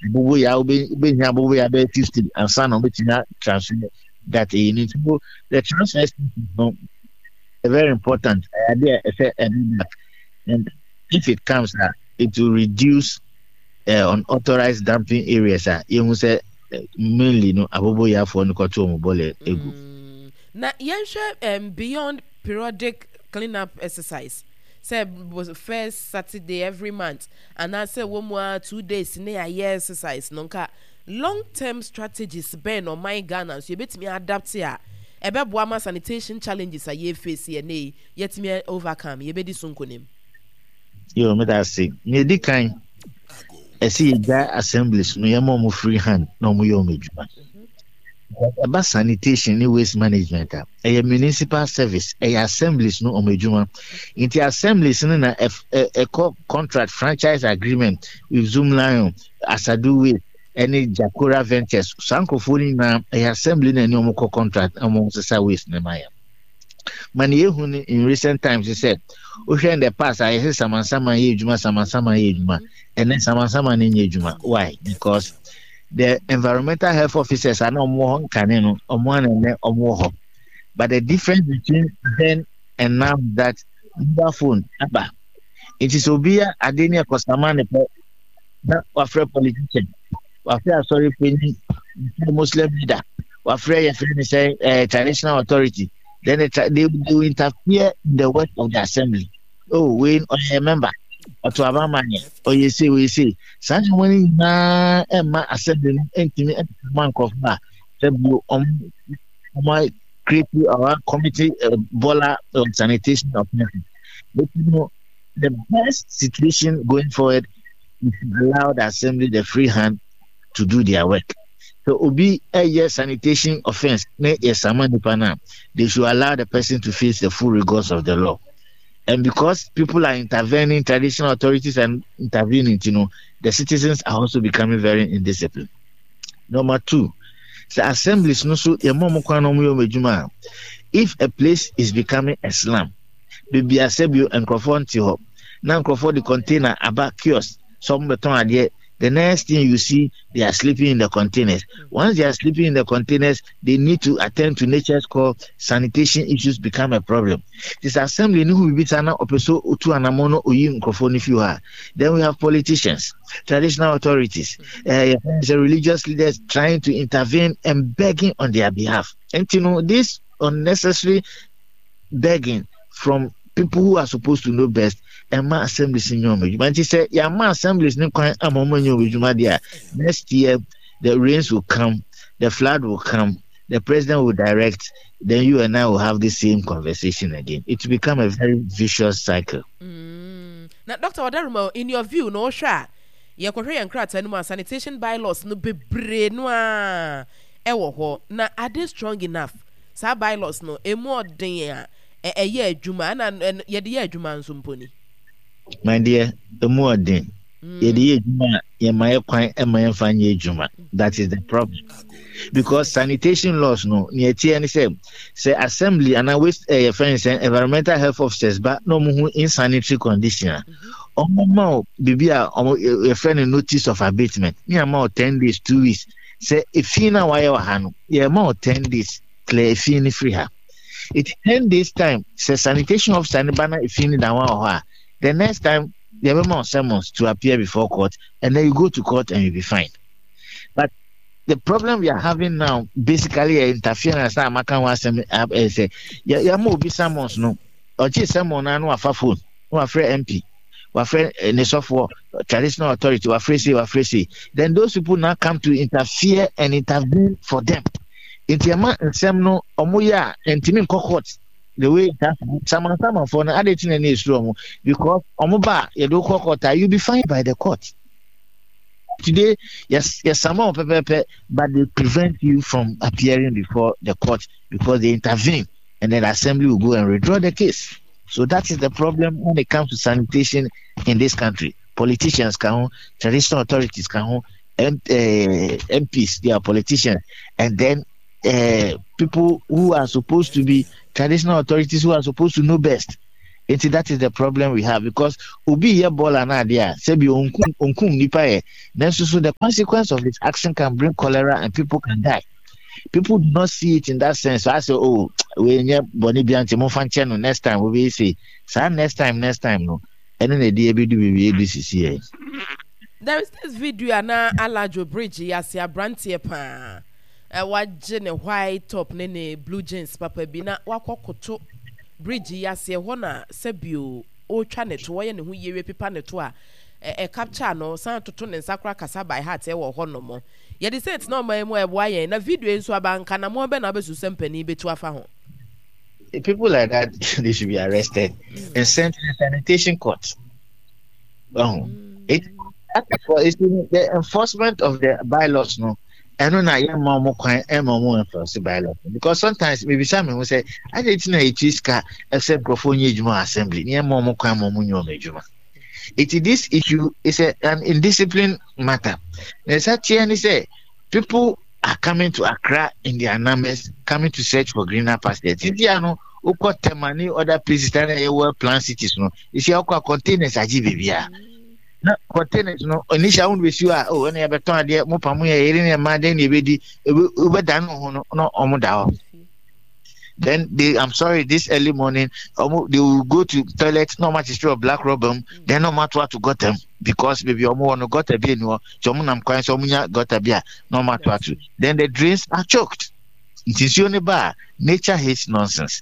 Aboboyaa wobɛhia aboboyaa bɛyɛ 50 ansa na wɔbɛtumi transfer that ɛyi no. Nti the transfer station no very important. Ɛyɛ adeɛ a ɛsɛ ɛde back, and if it comes a, it will reduce unauthorized dumping areas a yɛhu sɛ mainly no aboboyaafoɔ no kɔto wɔn bɔlɛ egu. Na yɛnhwɛ beyond periodic clean up exercise sɛ first Saturday every month anaasɛ wɔ mu ara 2 days ne ayɛ exercise no, nka long term strategies bɛn na ɔman Ghana nso yɛbɛtumi adapt a ɛbɛboa ma sanitation challenges a yɛface yɛ ne yi yɛtumi overcome, yɛbɛdi so nkonim? Yo, meda ase. Nea ɛdi kan, ɛsɛ yɛgya assemblies no, yɛma ɔmo free hand na ɔmo yɛ ɔmo adwuma. Ɛba sanitation ne waste management a, ɛyɛ municipal service, ɛyɛ assemblies no ɔmo adwuma. Nti assemblies no na ɛkɔ contract, franchise agreement with Zoomlion, Asadu Waste ɛne Jakora Ventures. Saa nkurɔfoɔ no nyinaa, ɛyɛ assembly na ɛne ɔmo kɔ contract na ɔmo sesa waste ne ma yɛ. Ma ne yɛhu no in recent times sɛ wohwɛ in the past a, yɛsɛ samansaman yɛ adwuma, samansaman yɛ adwuma. Ɛnɛ samansaman no nyɛ adwuma. Why? Because the environmental health officers a na ɔmo wɔ hɔ nkane no, ɔmo ana ɛnɛ ɔmo wɔ hɔ, but the difference between then and now is that mobile phone aba. Nti sɛ obi yɛ ade ne ɛkɔsama ne pɛ na wafrɛ politician, wafrɛ asɔre panyin, wafrɛ Muslim leader, wafrɛ yɛfrɛ ne sɛ traditional authority, then they will interfere in the work of the assembly. Oh, wei ɔyɛ member, ɔto aba ma yɛ, ɔyɛ se ɔyɛ se. Saa nneɛma no nyinaa ɛmma assembly no ntumi ɛmma nkurɔfoɔ a sɛ bio ɔmo create our committee bɔla on sanitation of nothing. But the best situation going forward is to allow the assembly the free hand to do their work. So obi ɛyɛ sanitation offence ne yɛ sama nipa na, they should allow the person to face the full rigors of the law. And because people are intervening, traditional authorities are intervening, the citizens are also becoming very indisciplined. Number two, the assemblies no so yɛ mɔ mo kwan na ɔmo yɛ ɔmo adwuma a, if a place is becoming a slum, beebi a sɛbio nkurɔfoɔ nte hɔ na nkurɔfoɔ de container aba, kiosk sɛ ɔmo bɛtɔn adeɛ, the next thing you see, they are sleeping in the containers. Once they are sleeping in the containers, they need to attend to nature's call. Sanitation issues become a problem. This assembly no ho bibi saa na ɔpɛ so otu anamɔ no oyi nkurɔfoɔ no fi hɔ a, then we have politicians, traditional authorities, religious leaders trying to intervene and begging on their behalf. And this unnecessary begging from people who are supposed to know best ɛma assemblies nyɛ ɔmo adwuma. Nti sɛ yɛama assemblies ne kwan ama ɔmo nyɛ ɔmo adwuma deɛ a, next year the rains will come, the flood will come, the president will direct, then you and I will have the same conversation again. It will become a very vicious cycle. Na Dr. Wadaruma, in your view no, wohwɛ a yɛkɔhwɛ yɛn krataa no mu a, sanitation bylaws no bebree no a ɛwɔ hɔ na are they strong enough? Saa bylaws no emu ɔden a ɛyɛ adwuma ɛna yɛde yɛ adwuma nso mpo ni? My dear, emu ɔden. Yɛde yɛ adwuma a, yɛma yɛ kwan ɛma yɛmfa nyɛ adwuma. That is the problem, because sanitation laws no, nea ɛteɛ ne sɛ assembly anaa waste yɛfrɛ no sɛ environmental health officers ba na ɔmo hu insanitary condition a, ɔmo ma o biribi a ɔmo yɛfrɛ no notice of abatement ne ama o 10 days, 2 weeks, sɛ efi no a wayɛ wɔ ha no, yɛma o 10 days, clear efi no firi ha. Eti 10 days time, sɛ sanitation officer ne ba na efi no da ho wɔ hɔ a, the next time yɛbɛma o summons to appear before court, and then you go to court and you be fined. But the problem we are having now basically yɛ interference na amaka ho asɛm. Ɛ sɛ yɛma obi summons no, ɔgye summons na no wafa phone na wafrɛ MP, wafrɛ ne sɔfoɔ, traditional authority, wafrɛ sei, wafrɛ sei, then those people now come to interfere and intervene for them. Nti ɛma nsɛm no ɔmo yɛ a ntumi nkɔ court the way it has to be. Samansamanfoɔ no ade ti na ne esuro ɔmo because ɔmo ba a yɛde kɔ court a, you be fined by the court. Today, yes, some pɛpɛpɛ, but they prevent you from appearing before the court because they intervene, and then the assembly will go and withdraw the case. So that is the problem when it comes to sanitation in this country. Politicians can, traditional authorities can, MPs, they are politicians, and then people who are supposed to be traditional authorities who are supposed to know best. Enti that is the problem we have because obi yɛ bɔɔla no adeɛ a sɛbi onkum onkum nipa yɛ nanso so the consequence of his action can bring cholera and people can die. People do not see it in that sense. So I say, oh, we nyɛ bɔne bia nti momfa nkyɛ no next time wobɛyɛ sei. Saa next time next time no ɛno na ɛde ɛbɛdu baabi ɛdu sisi yɛ. There is this video a na Alajo bridge yi ase abranteɛ paa wagye ne white top ne ne blue jeans papa bi na wakɔ koto bridge yi ase ɛhɔ na sɛbio ɔretwa ne to ɔyɛ ne ho yie pepa ne to a ɛ capture no san toto ne nsa koraa kasa by heart ɛwɔ hɔ nom yɛde sɛ ɛtena ɔman mu a ɛboa yɛn na video yi nso aba nka na mo bɛ na abɛsu sɛ mpanin bɛtu afa ho. People like that they should be arrested and sent to the sanitation court. Oh, it, it's the enforcement of the bylaws no. ɛno na yɛmma ɔmo kwan ɛma ɔmo enforce bylaws because sometimes mebisa me ho sɛ adɛn nti na yɛtua sika ɛsɛ nkurɔfoɔ nyɛ adwuma assembly ne yɛmma ɔmo kwan ma ɔmo nyɛ ɔmo adwuma. Eti this issue is a, an indiscipline matter. Na ɛsa teɛ ne sɛ people are coming to Accra in their numbers, coming to search for greener pastures. Titi ano wokɔ Tema ne other places na ɛyɛ well planned cities no, esi akɔ a containers agye baabiara. Na containers no initial wɔn bɛsi hɔ a oh ɛna yɛbɛtɔn adeɛ mo pa mo yɛ yere ne mmaa dɛn na yɛbɛdi wobɛda no ho no na wɔn da hɔ. Then they, I'm sorry, this early morning, they will go to toilet, no much is black rubber, then no matter what to got them because maybe omo no got a bi no, so omo nam kwan so omo nya got a bi no matter what. Then the drains are choked. Nti nsuo ne ba nature hates nonsense.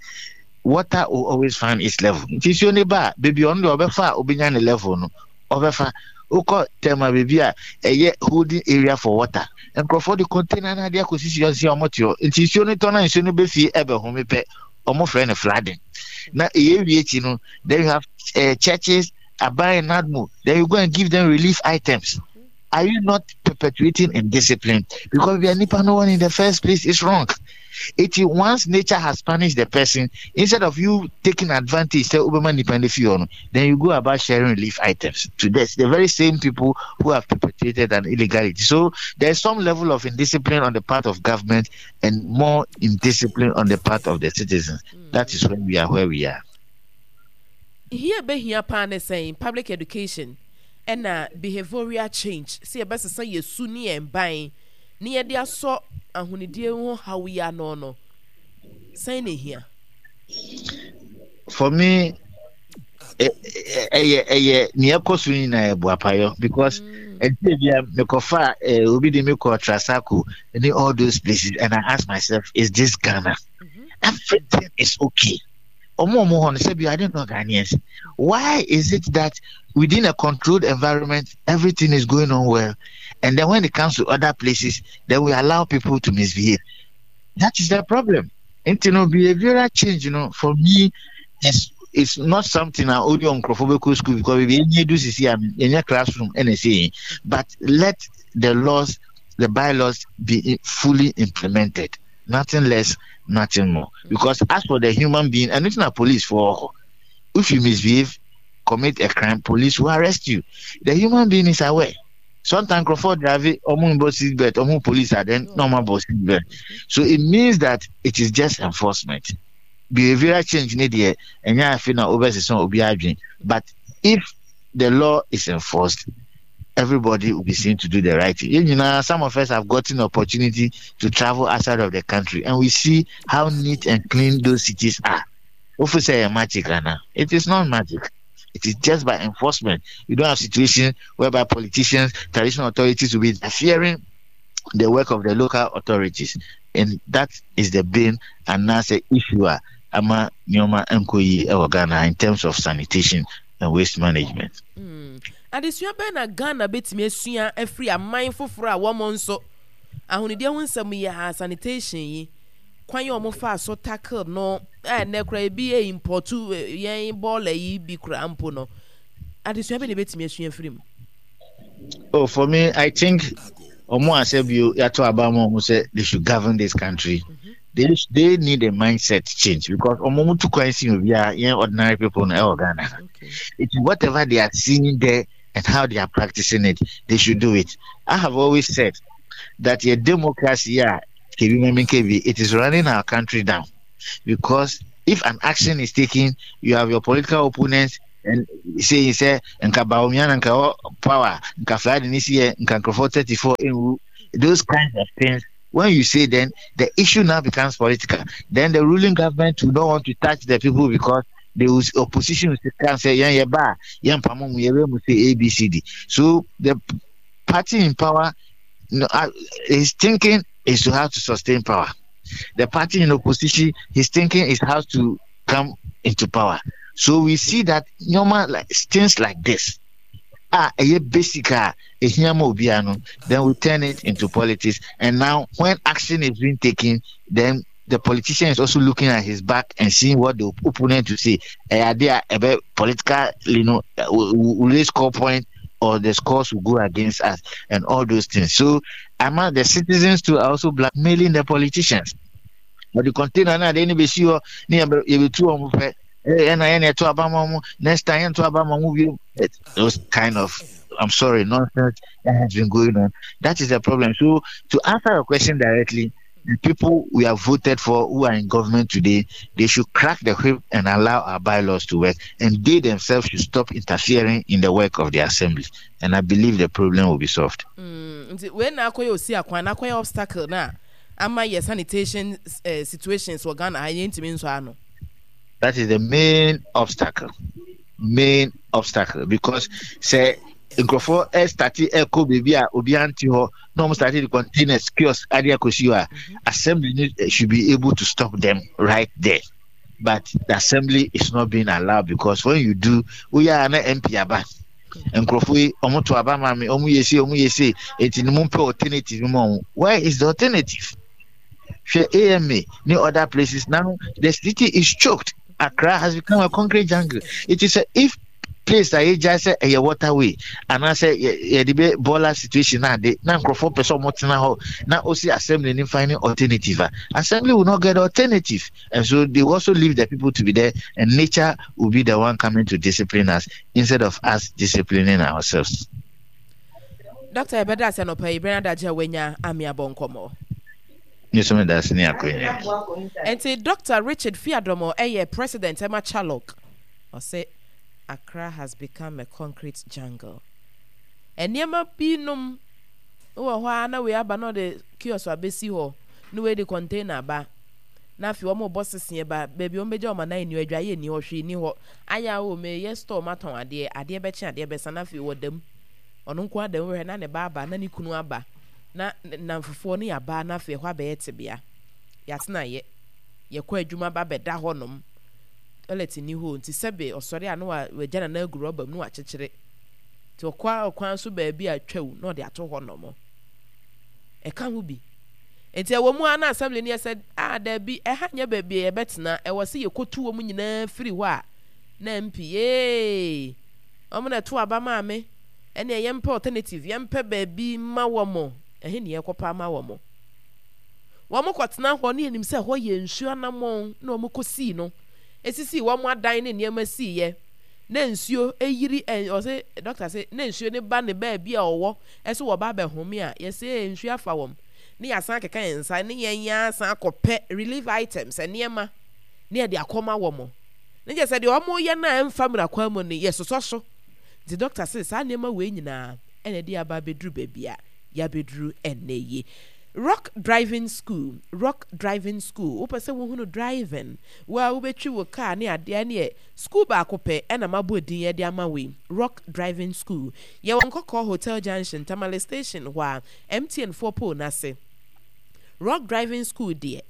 Water will always find its level. Nti nsuo ne ba baby ɔno deɛ ɔbɛfa a obenya ne level no ɔbɛfa. Wokɔ Tema baabi a ɛyɛ holding area for water. Nkurɔfoɔ de container no adeɛ akɔsisi hɔ sɛ wɔn te hɔ. Nti nsuo no tɔ na nsuo no bɛfie ɛbɛhome pɛ, wɔn frɛ no flooding. Na ɛyɛ wie akyi no, then you have churches, aban NADMO, then you go and give them relief items. Are you not perpetuating indiscipline? Because we are nipa no one in the first place is wrong. It once nature has punished the person, instead of you taking advantage, say Obama nipa then you go about sharing relief items to this the very same people who have perpetrated an illegality. So there's some level of indiscipline on the part of government and more indiscipline on the part of the citizens. That is when we are where we are. Hia behia paa ne sɛn public education ɛna behavioral change sɛ yɛbɛsesa yɛ su ne yɛn ban ne yɛde asɔ ahonidie ho haw yi ano no, sɛn na ehia? For me, ɛyɛ ɛyɛ nea ɛkɔ so nyinaa yɛ boapayɔ because ɛnti bi a mekɔfa obi de me kɔ Trasaco ne all those places and I ask myself, is this Ghana? Mm-hmm. Everything is okay. Ɔmo ɔmo hɔ no sɛbi I don't know Ghanaians. Why is it that within a controlled environment everything is going on well and then when it comes to other places then we allow people to misbehave? That is the problem. Nti no behavioral change you know, for me is is not something a only nkurɔfoɔ bɛkɔ school because ebi enye du sisi a enye classroom ɛna ɛsɛ yɛn but let the laws the bylaws be fully implemented nothing less nothing more because as for the human being ɛno ti na police for if you misbehave commit a crime police will arrest you the human being is aware sometimes nkurɔfoɔ drive ɔmo nbɔ seat belt ɔmo police are then na ɔmo abɔ seat belt so it means that it is just enforcement behavioral change ne deɛ ɛnyɛ afe na ɔbɛsesa obi adwene but if the law is enforced everybody will be seen to do the right thing. You know, some of us have gotten opportunity to travel outside of the country and we see how neat and clean those cities are. If we say magic, Anna, it is not magic. It is just by enforcement. You don't have situation whereby politicians, traditional authorities will be interfering the work of the local authorities. And that is the bane and that's the issue. Ama nneɛma nkɔ yie wɔ Ghana in terms of sanitation and waste management. Adesua bɛn na Ghana bɛtumi asua afiri aman foforɔ a wɔn nso ahonidie ho nsɛm yi a sanitation yi kwan a wɔfaa so tackle no a ɛnɛ koraa ebi yɛ import yɛn bɔɔla yi bi koraa mpo no adesua bɛn na ebɛtumi asua afiri mu? Oh, for me, I think ɔmo asɛ bio yɛato aba ma ɔmo sɛ they should govern this country. Mm-hmm. They need a mindset change because ɔmo mo tu kwan si obiara yɛn ordinary people no ɛwɔ Ghana. It's whatever they are seeing there and how they are practicing it, they should do it. I have always said that your democracy, yeah, it is running our country down because. If an action is taken, you have your political opponents and saying sɛ nka Bawumia na nka ɛwɔ power, nka flood ne si yɛ, nka nkurɔfoɔ 34 nwu. Those kinds of things. When you say then, the issue now becomes political. Then the ruling government will not want to touch the people because the opposition can say, yeah, yeah, ba, yeah, pamu, yeah, say A, B, C, D. So the party in power his thinking is to how to sustain power. The party in opposition, his thinking is how to come into power. So we see that normal like things like this ah a basic ah then we turn it into politics. And now when action is being taken, then the politician is also looking at his back and seeing what the opponent to say. Idea about political, you know, will they score point or the scores will go against us and all those things. So among the citizens too are also blackmailing the politicians. But the container now they need see ne yɛbɛtu wɔn pɛ ɛna yɛn ɛto aba ma wɔn next time yɛn to aba ma wɔn bio those kind of I'm sorry nonsense that has been going on. That is the problem. So to answer your question directly, the people we have voted for who are in government today, they should crack the whip and allow our bylaws to work. And they themselves should stop interfering in the work of the assembly. And I believe the problem will be solved. Mm, wei na akɔyɛ osi akwan na akɔyɛ obstacle na ama yɛ sanitation uh, situations wɔ Ghana ha yɛntumi nsɔ ano. That is the main obstacle. Main obstacle because sɛ nkurɔfoɔ ɛstarte ɛkɔ baabi a obiara nte hɔ na wɔn starte de containers kiosk adeɛ akɔsi hɔ a mhm. assembly no eh, should be able to stop them right there but the assembly is not being allowed because when you do woyɛ a na mp aba nkurɔfoɔ yi wɔn to aba maame wɔn yɛ se wɔn yɛ se eti ne mu mpɛ alternative mu wɔn where is the alternative hwɛ ama ne other places now the city is choked Accra has become a concrete jungle. It is a, if place a yɛgyae sɛ ɛyɛ waterway anaasɛ yɛde bɛ bɔɔla situation na ade na nkurɔfoɔ pɛ sɛ wɔtena hɔ na osi assembly ne finding alternative a assembly will not get alternative and so they also leave the people to be there and nature will be the one coming to discipline us instead of us disciplining ourselves. Doctor yɛbɛda ase anɔpa yi berɛ no adagye a wanya ame abɔ nkɔmmɔ. Me nso meda ase ne akwanya yi. Nti Doctor Richard Fiadomo yɛ president ɛma Chalok. Ɔse Accra has become a concrete jungle. Nneɛma bi nom wɔ hɔ ara na wei aba na ɔde kiosk abɛsi hɔ na wei de container aba na afei wɔn rebɔ seseɛ ba baabi wɔn bɛgya wɔn anan nni hɔ adwaeɛ nni hɔ hwee nni hɔ ayɛ a o meyɛ store matɔn adeɛ adeɛ bɛkye adeɛ bɛsa na afei wɔda mu ɔno nko ara da mu hwɛ na ne ba aba na ne kunu aba na nnamfofoɔ no yɛaba na afei ɛhɔ abɛyɛ tebea. Yɛatena yɛ. Yɛkɔ adwuma ba bɛda hɔnom. Toilet nni hɔ nti sɛbe ɔsɔre a na wagya nana agu rɔba mu na wakyekyere. Nti ɔkɔ ɔkwan so baabi a twaw na ɔde ato hɔnom. Ɛka ho bi. Nti ɛwɔ mu a na assembly no yɛ sɛ a daabi ɛha nyɛ baabi a yɛbɛtena ɛwɔ sɛ yɛkɔtu wɔn nyinaa firi hɔ a na MP yee wɔn na ɛto aba maa me. Ɛneɛ yɛmpɛ alternative, yɛmpɛ baabi mma wɔn, ɛhe ne yɛkɔpɛ ama wɔn? Wɔn kɔtena hɔ ne yɛnim sɛ ɛhɔ yɛ nsuo anammɔn na wɔn kɔsii no, ɛsisii wɔn adan ne nneɛma siiɛ, na nsuo ɛyiri, ɛ, ɔse, dɔkta se, na nsuo no ba ne baabi a ɔwɔ, ɛso wɔba abɛhome a, yɛse ee, nsuo afa wɔn, ne yɛasan akeka yɛn nsa, ne yɛn yɛn asan akɔpɛ relief items, nneɛma, ne yɛde akɔma wɔn. Ne kyerɛ sɛ deɛ wɔn yɛ no a ɛmfa mmara kwan mu no, yɛsosɔ so. Nti dɔkta se saa nneɛma wei nyinaa na ɛde yɛn aba abɛduru baabi a yɛabɛduru ɛnnɛ yi. Rock Driving School, Rock Driving School, wopɛ sɛ wohunu driving, wo a wobɛtwi wo kaa ne adeɛ ɛneɛ school baako pɛ ɛna mabɔ din ɛde ama wo yi, Rock Driving School. Yɛwɔ Nkɔkɔɔ Hotel Junction, Tamale Station hɔ a, MTN foɔ pole no ase. Rock Driving School deɛ,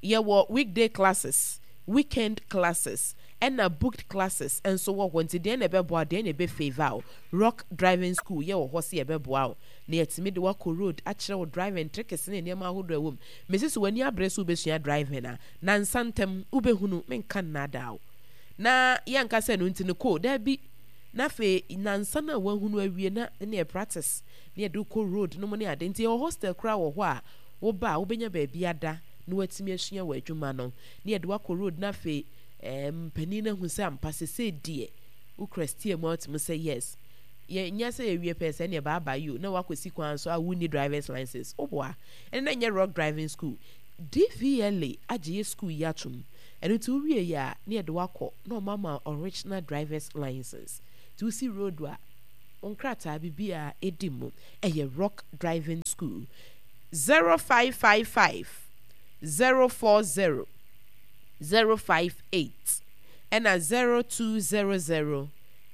yɛwɔ weekday classes, weekend classes, ɛna booked classes nso wɔ hɔ nti deɛn na ɛbɛboa wo deɛn na ɛbɛ favour wo Rock driving school yɛ wɔ hɔ sɛ yɛbɛboa wo na yɛatumi de wo akɔ road akyerɛ wo driving tricks ne nneɛma ahodoɔ a ɛwɔ mu mese sɛ w'ani abere sɛ wobɛsua driving a nansa ntam wobɛhunu menka nnaadaa wo na yɛnka sɛ ɛno nti no kɔ daabi na afei nansa no a woahunu awie na ne yɛ practice na yɛde wo kɔ road no mu ne ade nti yɛwɔ hostel koraa wɔ hɔ a woba a wobɛnya baabi ada na woatumi asua w'adwuma no na yɛde wo akɔ road na afei Ɛɛm panin no ahu sɛ ampa sesei deɛ wo kura steer mu a wotumi sɛ yes. Yɛ nyɛ sɛ yɛwie pɛɛ sɛ ɛneɛ bye bye yo na woakɔsi kwan so a wonni drivers license. Woboa. Ɛne na nyɛ rock driving school. DVLA agye yɛ school yi atom. Ɛno nti wowie yɛ a na yɛde wo akɔ na wɔn ama wo original drivers license. Nti wosi road a wo nkrataa biribiara ɛdi mu. Ɛyɛ Rock Driving School. 0555 040 058 ɛna 0200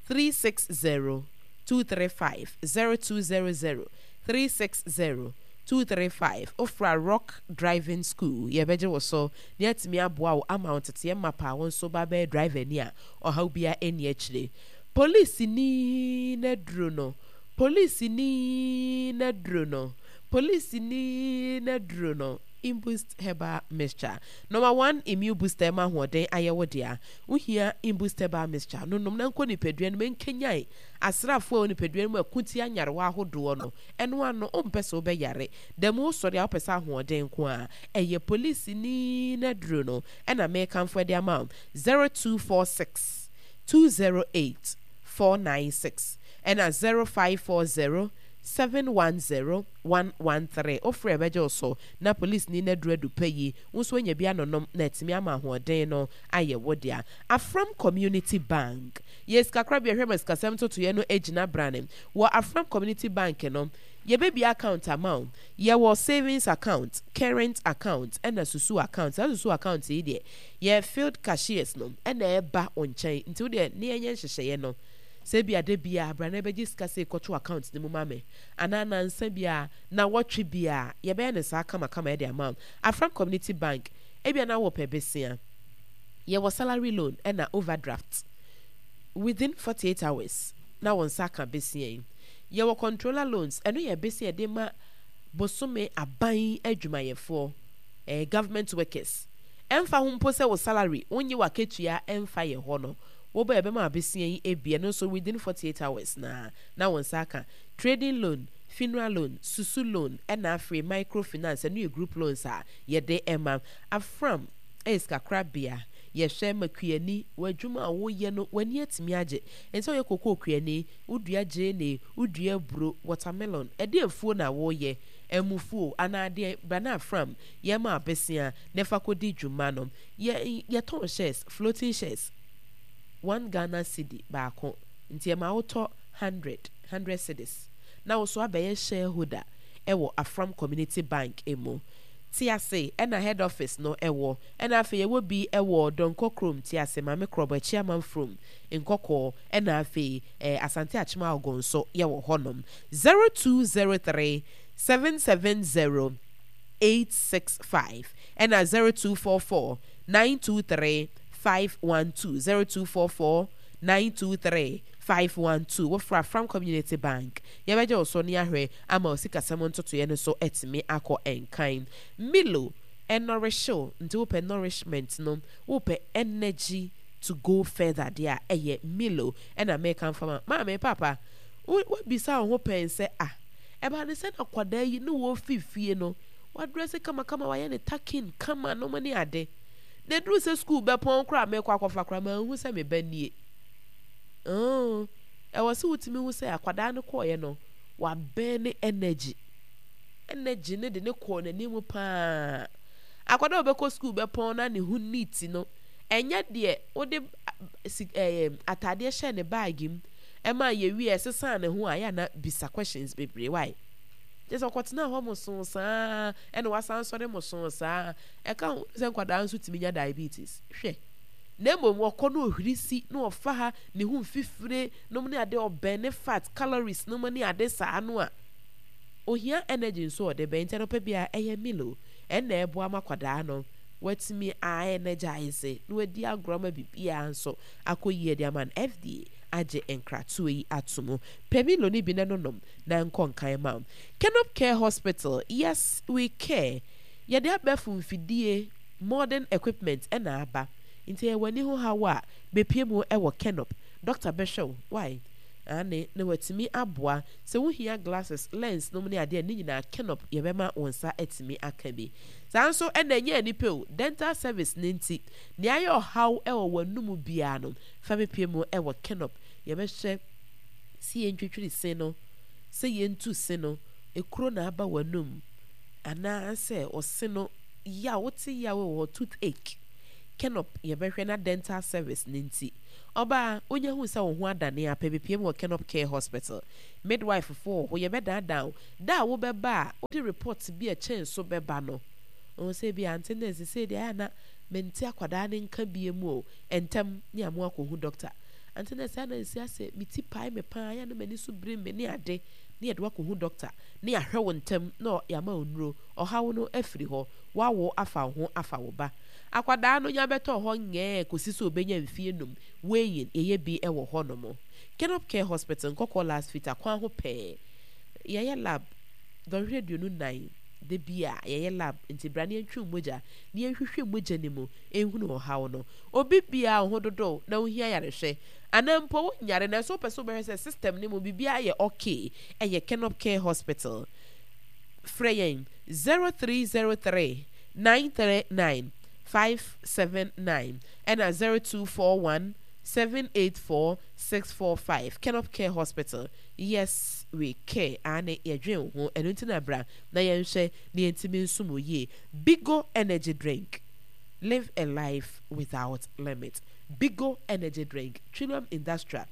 360 235 0200 360 235 Wofra Rock Driving School yɛbɛgye wo so na yɛatumi aboa wo ama wo nteteɛ mapa a wo nso ba bɛyɛ driver ni a ɔhaw biara nni akyire. Polisini no aduro no Polisini no aduro no Polisini no aduro no Imboost Herbal Mixture Number one immune booster ɛma ahoɔden ayɛ wo dea. Wohia Imboost Herbal Mixture no nom na nkɔ nipadua no mu ɛnkanyan asraafoɔ a ɛwɔ nipadua no mu ɛko tia nyarewa ahodoɔ no. Ɛno ano, wompɛ sɛ wobɛyare. Da mu wosɔre a wopɛ sɛ ahoɔden nko ara. Ɛyɛ polisini no aduro no na merekamfo de ama wo. 0246 208 496 ɛna 0540 710 113. Wofrɛ a ɛbɛgye wo so na polisini no aduro adu pɛ yi, wo nso woanya bi anonom na atumi ama ahoɔden no ayɛ wo dea. Afram Community Bank yɛ sikakorabea hwɛ ma sikasɛm ntotoeɛ no gyina brane. Wɔ Afram Community Bank no, yɛbɛbue account ama wo. Yɛwɔ savings account, current account, ɛna susu account. Saa susu account yi deɛ, yɛ field cashiers no na ɛba wo nkyɛn. Nti wo deɛ ne yɛnyɛ nhyehyɛeɛ no, sɛ ebia da biara bra na bɛgye sika sei kɔto account no mu ma me, anaa nansa biara, nawɔtwe biara, yɛbɛyɛ no saa kamakama de ama wo. Afram Community Bank, ebia na wopɛ besia. Yɛwɔ salary loan ɛna overdraft. Within 48 hours na wo nsa aka besia yi. Yɛwɔ controller loans, ɛno yɛ besia a yɛde ma bosome aban adwumayɛfoɔ, eh, government workers. Ɛmfa ho mpo sɛ wo salary, wonnye w'akatua ɛmfa yɛ hɔ no, woba a yɛbɛma wo besia yi bi, ɛno nso within 48 hours na na wo nsa aka. Trading loan, funeral loan, susu loan, ɛna afei micro finance, ɛno yɛ group loans a yɛde ma. Afram yɛ sikakorabea, yɛhwɛ ma kuani, w'adwuma a woyɛ no w'ani atumi agye. Ɛnsɛ sɛ woyɛ kokoo kuani, wodua gyeene, wodua aburo, watermelon, ɛdeɛn afuo na woyɛ? Ɛmofuo anaa deɛn? Bra na Afram yɛma wo bɛsia na fa kɔdi dwuma no. Yɛ yɛtɔn shares, floating shares, one Ghana cedi baako, nti ɛma wotɔ hundred, hundred cedis, na wo nso abɛyɛ shareholder wɔ Afram Community Bank mu. Tease na head office no wɔ. Ɛna afei yɛwɔ bi wɔ Donkor kurom, Tease, Maame Krɔbɔ, Akyiaman From, Nkɔkɔɔ, ɛna afei eh, Asante Akyem Aogo nso yɛwɔ hɔnom. 0203 770 865 ɛna 0244 923 512 0244 923 512 Wofra Afram Community Bank. Yɛbɛgye wo so ne ahwɛ ama wo sikasɛm ntotoeɛ no so atumi akɔ nkan. Milo ɛnɔrehye wo nti wopɛ nourishment no, wopɛ energy to go further deɛ a, ɛyɛ Milo ɛna meka mfa ma. Maame, paapa, wo woabisa wo ho pɛn sɛ ah, ɛbaa ne sɛ na akwadaa yi ne wɔrefi fie no, wadrɛse kamakama, wayɛ ne tucking kama nom ne ade. Na ɛduru sɛ sukuu bɛpɔn koraa a mekɔ akɔfa koraa manhu sɛ me ba nie. Oh, ɛwɔ sɛ wotumi hu sɛ akwadaa no kɔɔeɛ no, wabɛn ne energy. Energy no de ne kɔɔ n'anim paa. Akwadaa a ɔbɛkɔ sukuu bɛpɔn na ne ho neat no, ɛnyɛ deɛ wode si ɛɛ ataadeɛ hyɛ ne baage mu ɛma yɛwie ɛsesaa ne ho a yɛ ana bisa questions bebree why? Kyerɛ sɛ ɔkɔtena hɔ mosoo saa ɛna wasan sɔre mosoo saa. Ɛka ho sɛ nkwadaa nso tumi nya diabetes. Hwɛ. Na mmom ɔkɔ na ɔhwiri si na ɔfa ha ne ho mfifire nom ne ade ɔbɛn ne fat calories nom ne ade saa no a ohia energy nso ɔde bɛn nti anɔpa biara ɛyɛ Milo ɛna ɛboa ma kwadaa no watumi a energize na wadi agorɔ ama biribiara nso akɔ yie de ama no. FDA agye nkratoɔ yi ato mu. Pɛ Milo no bi na nonom na nkɔ nkan ma wo. Kenop Care Hospital, yes we care. Yɛde abɛɛfo mfidie, modern equipment, na aba. Nti ɛyɛ w'ani ho haw a, bepue mu wɔ Kenop. Doctor bɛhwɛ wo, wai? Aane, na watumi aboa. Sɛ wohia glasses, lens nom ne adeɛ a, ne nyinaa Kenop yɛbɛma wo nsa atumi aka bi. Saa nso na ɛnyɛ ani pɛ o, dental service no nti, nea ayɛ ɔhaw wɔ w'anomu biara no, fa bepue mu wɔ Kenop. Yɛbɛhwɛ sɛ yɛntwitwiri se no, sɛ yɛntu se no, ekuro na aba w'anum, anaasɛ ɔse no yaw, wote yaw wɔ hɔ, toothache. Kenop yɛbɛhwɛ na dental service no nti. Ɔbaa, wonya hu sɛ wo ho adane a, pɛ bepiem wɔ Kenop Care Hospital. Midwife foɔ wɔ hɔ, yɛbɛdaadaa wo. Da a wobɛba a, wode report bi a ɛkyɛn so bɛba no. Wohu sɛ ebia ante nurse sei deɛ ayɛ a na mente akwadaa no nka biom o. Ntɛm ne amoa akɔhu doctor. Ante nurse ayɛ a na nsi asɛ me ti pae me paa, ayɛ a na m'ani so biri me ne ade. Ne yɛde wo akɔhu doctor ne yɛahwɛ wo ntɛm na yɛama wo nnuro. Ɔhaw no afiri hɔ. Woawo afa wo ho afa wo ba. Akwadaa no nya bɛtɔɔ hɔ ngɛɛ kɔsi sɛ ɔbɛnya mfie num, weighing, yɛyɛ bi wɔ hɔ nom. Kenop Care Hospital, Nkɔkɔɔ Last Fita kwan ho pɛɛ. Yɛyɛ lab dɔnhwere 24 da bi a yɛyɛ lab nti bra na yɛntwe wo mogya na yɛnhwehwɛ mogya no mu nhunu ɔhaw no. Obi biara wo ho dodow na wohia ayarehwɛ anaa mpo wonyare nanso wopɛ sɛ wobɛhwɛ sɛ system no mu biribiara yɛ okay ɛyɛ Kenop Care Hospital. Frɛ yɛn 0303 939 579 ɛna 0241 784 645 Kenop Care Hospital Yes we care aane yɛdwen wo ho ɛno nti na bra na yɛnhwɛ na yɛntumi nsom wo yie Bigo energy drink live a life without limit Bigo energy drink Trinam Industrial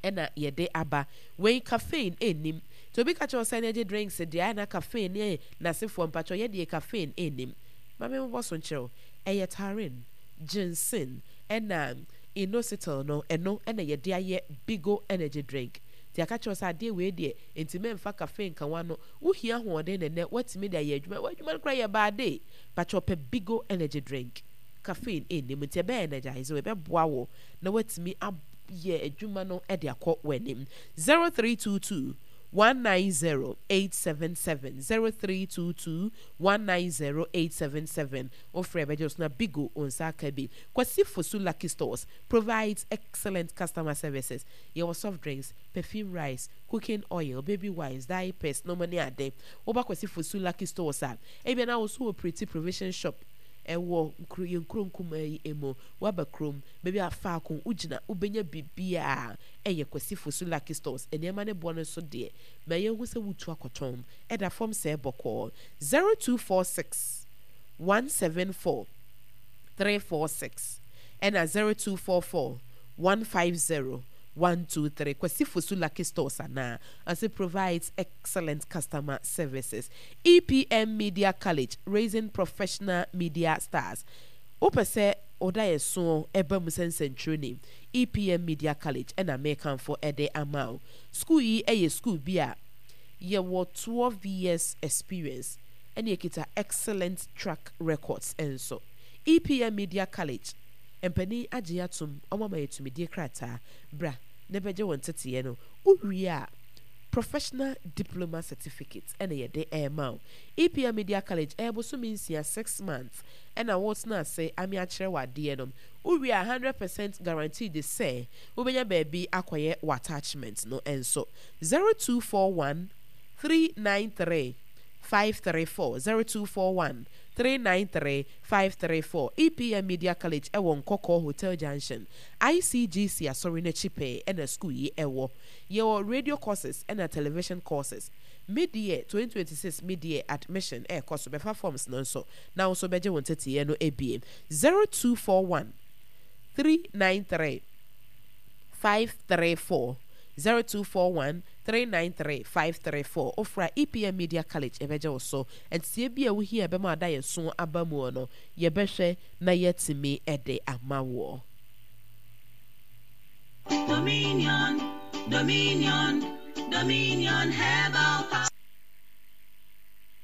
ɛna yɛde aba wei caffeine nnim nti obi ka kyerɛ wo sɛ energy drinks deɛ ayɛ na caffeine ne n'asefoɔ mpakyɛw yɛ deɛ caffeine nnim ma me mmobɔ so nkyerɛ wo ɛyɛ taurine ginseng ɛna inositol no ɛno ɛna yɛde ayɛ Bigo energy drink nti yɛaka kyerɛ wo sɛ adeɛ wei deɛ nti mɛmfa caffeine nka w'ano wohia ahoɔden na ɛnɛ woatumi de ayɛ adwuma w'adwuma no koraa yɛ baade pakyɛw pɛ Bigo energy drink caffeine nnim nti ɛbɛ energize wo ɛbɛboa wo na woatumi ayɛ adwuma no de akɔ w'anim 0322 190 877 0322 190 877 wofrɛ bɛgye wo so na Bigo wo nsa aka bi Kwasi Fosu Lucky Stores provides excellent customer services yɛwɔ soft drinks perfume rice cooking oil baby wipes diapers nom ne ade woba Kwasi Fosu Lucky Stores a ebia na wo nso wɔ Pretty Provision Shop ɛwɔ nkuro yɛn nkuro nkumaa yi mu woaba kurom baabi a faako wogyina wobɛnya biribiara ɛyɛ Kwasi Fosu Lucky Stores nneɛma ne boɔ no nso deɛ ma yɛnhu sɛ wotu akɔtɔn ɛda fam sɛɛ bɔkɔɔ 0246 174 346 ɛna 0244 150 123 Kwasi Fosu Lucky Stores anaa ɔse provides excellent customer services EPM Media College raising professional media stars wopɛ sɛ woda yɛ soɔ ɛba mu sɛ nsɛntwerɛni EPM Media College ɛna mekamfo ɛde ama wo school yi ɛyɛ school bi a yɛwɔ 12 years experience ɛne yɛkita excellent track records nso EPM Media College mpanin agye atom ɔmo ama yɛ tumidie krataa bra na bɛgye wɔn teteɛ no wowie a professional diploma certificate ɛna yɛde ɛrema wo EPM Media College ɛyɛ bosome nsia 6 months ɛna wotena ase ame akyerɛ wɔ adeɛ no wowie a 100% guaranteed sɛ wobɛnya baabi akɔyɛ wɔ attachment no nso 0241 393 534 0241 393 534 EPM Media College ɛwɔ Nkɔkɔɔ Hotel Junction ICGC asɔre n'akyi pɛɛ ɛna school yi ɛwɔ yɛwɔ radio courses ɛna television courses mid-year 2026 mid-year admission ɛɛkɔ so bɛfa forms no nso na wo nso bɛgye wo nteteeɛ no ebie 0241 393 534 0241 393 534 ofra EPM Media College ɛbɛgye wo so nteteeɛ bi a wohia ɛbɛma ada yɛ so aba mu no yɛbɛhwɛ na yɛatumi ɛde ama woɔ. Dominion, Dominion, Dominion Herbal Power.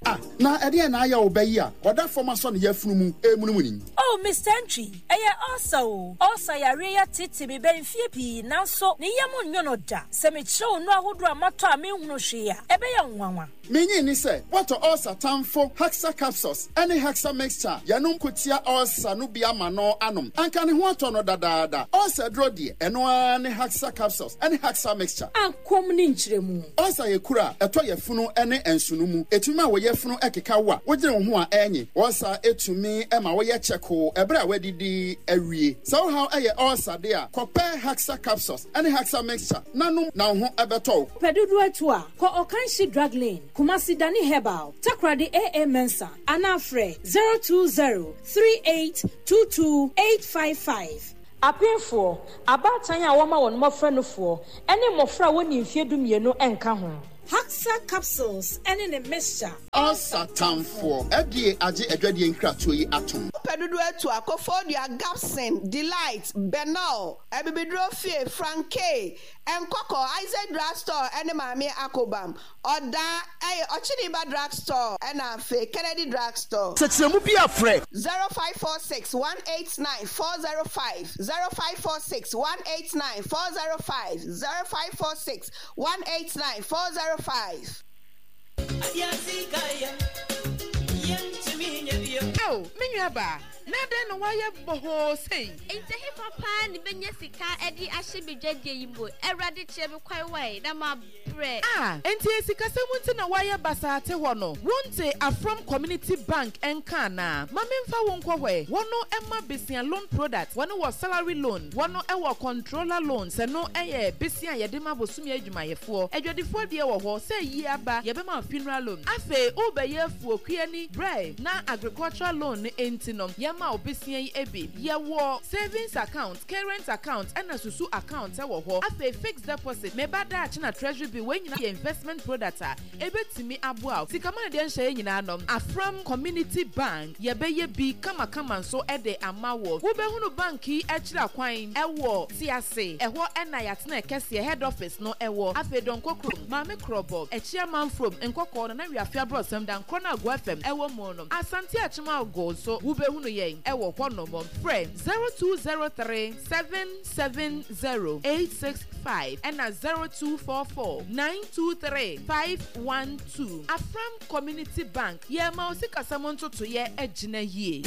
Ah, na ɛdeɛn na ayɛ wo ba yi a ɔda fam asɔ ne yafunu mu remunimuni? Oh, Mister Antwi, ɛyɛ ulcer o. Ulcer yareɛ yi ateetee me bɛn mfeɛ pii, nanso ne yam nnwo no da. Sɛ mekyerɛ wo nnuro ahodoɔ a matɔ a menhunu hwee a, ɛbɛyɛ wo nwanwa. Minnye nni sɛ woatɔ ulcer tamfo Hexa Capsules ne Hexa Mixture a yɛnom ko tia ulcer no bi ama no anom. Anka ne ho atɔ no dadaada. Ulcer aduro deɛ, ɛno ara ne Hexa Capsules ne Hexa Mixture. Akɔm ne nkyerɛmu. Ulcer yɛ kuru a ɛtɔ yafunu ne nsono mu. Ɛtumi ma wo yafunu keka wo a wogyene wo ho a ɛnye. Ulcer tumi ma woyɛ kyɛkoo ɛberɛ a woadidi awie. Sɛ wo haw yɛ ulcer de a, kɔpɛ Hexa Capsules ne Hexa Mixture na nom na wo ho bɛtɔ wo. Pɛ dodoɔ atu a, kɔ Ɔkanhyi Drug Lane. Kumasi Dani Herbal, Takoradi AA Mensah, anaa frɛ 020 3822 855. Apemfoɔ, abaatan a wɔma wɔn mmɔfra nufoɔ, ne mmɔfra a wɔnnii mfeɛ dumienu nka ho. Haxa capsules ne ne mixture. Ulcer tamfoɔ. FDA agye adwadie nkratoɔ yi atom. Wopɛ dodoɔ atu a, Koforidua, Gabson, Delight, Benol, Abibiduro Fie, Frank Kay, Nkɔkɔ, Isaac Drug Store ne Maame Akobam. Ɔda ɛyɛ Ɔkyeniba Drug Store ɛna afei Kennedy Drug Store. Sɛkyerɛmu bi a frɛ. 0546 189 405 0546 189 405 0546 189 405. Ao, me nuabaa, na adɛn na woayɛ bɔhɔɔ sei? Enti ɛhefa paa na mɛnya sika de ahyɛ me dwadie yi mu? Awurade, kyerɛ me kwan wae, na mabrɛ. Ah, enti ɛyɛ sikasɛm nti na woayɛ basaa te hɔ no? Wonte Afram Community Bank nka anaa? Ma memfa wo nkɔ hɔ ɛ. Wɔn ma besia loan product, wɔn wɔ salary loan, wɔn wɔ controller loans, ɛno yɛ besia a yɛde ma bosome adwumayɛfoɔ. Adwadifoɔ deɛ wɔ hɔ, sɛ ayie aba, yɛbɛma wo funeral loan. Afei worebɛyɛ afuo kuani, brɛ na agricultural loan no nti no, yɛma wo besia yi bi. Yɛwɔ savings account, current account ɛna susu account wɔ hɔ. Afei fixed deposit, me ba daakye na treasury bill, wei nyinaa yɛ investment product a ɛbɛtumi aboa wo. Sika ma no deɛ nhyɛ yɛn nyinaa nom. Afram Community Bank, yɛbɛyɛ bi kamakama nso de ama wo. Wobɛhunu bank yi akyiri akwan wɔ Tease, ɛhɔ na yɛatena kɛseɛ, head office, no wɔ. Afei Donkor kurom, Maame Krɔbɔ, Akyia Manfrom, Nkɔkɔɔ, Nana Wiafe Abrɔsam, Dankorɔ no Agoa FM wɔ mu no. Asante Akyem Ago nso wobɛhunu yɛn wɔ hɔnom. Frɛ 0203 770 865 ɛna 0244 923 512. Afram Community Bank, yɛrema wo sikasɛm ntotoeɛ agyina yie.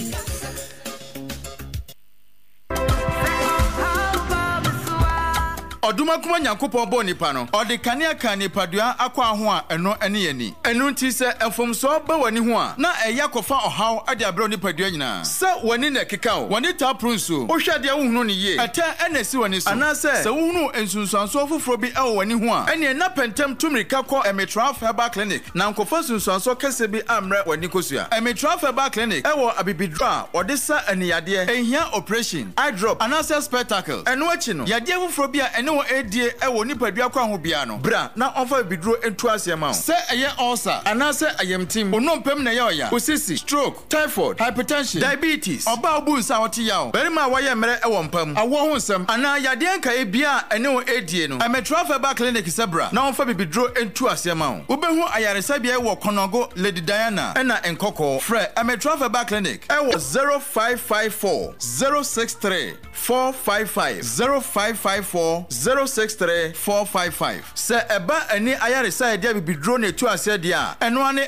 Ɔdomankoma Nyankopɔn bɔɔ nipa no, ɔde kanea kaa nipadua akwaa ho a ɛno ne ani. Ɛno nti sɛ mfomsoɔ ba w'ani ho a, na ɛyɛ akɔfa ɔhaw de abrɛ wo nipadua nyinaa. Sɛ w'ani na ɛkeka wo, w'ani taa poro nsuo, wohwɛ adeɛ a wonhunu no yie, ɛtɛ na ɛsi w'ani so, anaasɛ sɛ wohunu nsunsuansoɔ foforɔ bi wɔ w'ani ho a, ɛnneɛ na pɛ ntɛm tu mmirika kɔ Emitraf Herbal Clinic na nkɔfa nsunsuansoɔ kɛseɛ bi ammrɛ w'ani kosua. Emitraf Herbal Clinic wɔ abibiduro a wɔde sa ani yadeɛ, ɛnhia oprehyɛn, eye drop, anaasɛ spectacle. Ɛno akyi no, yadeɛ foforɔ bi a ɛne wo redie wɔ wo nipadua kwan ho biara no, bra na ɔmfa abibiduro ntu aseɛ ma wo. Sɛ ɛyɛ ulcer anaasɛ ayamtim, wo nnompe mu na ɛyɛ ɔya, wo sisi, stroke, typhoid, hypertension, diabetes, ɔbaa a wobu nsa a ɔte yaw, barima a wayɛ mmerɛ wɔ mpa mu, awoɔ ho nsɛm, anaa yadeɛ nkaeɛ biara a ɛne wo redie no, Ɛmetra Herbal Clinic sɛ bra na wɔmfa bibiduro ntu aseɛ ma wo. Wobɛhu ayaresabea yi wɔ Konongo, Lady Diana, ɛna Nkɔkɔɔ. Frɛ Ɛmetra Herbal Clinic wɔ 0554 063 455, 0554 063 455. Sɛ ɛba ani ayaresa a yɛde abibiduro na ɛtu aseɛ deɛ a, ɛno ara ne.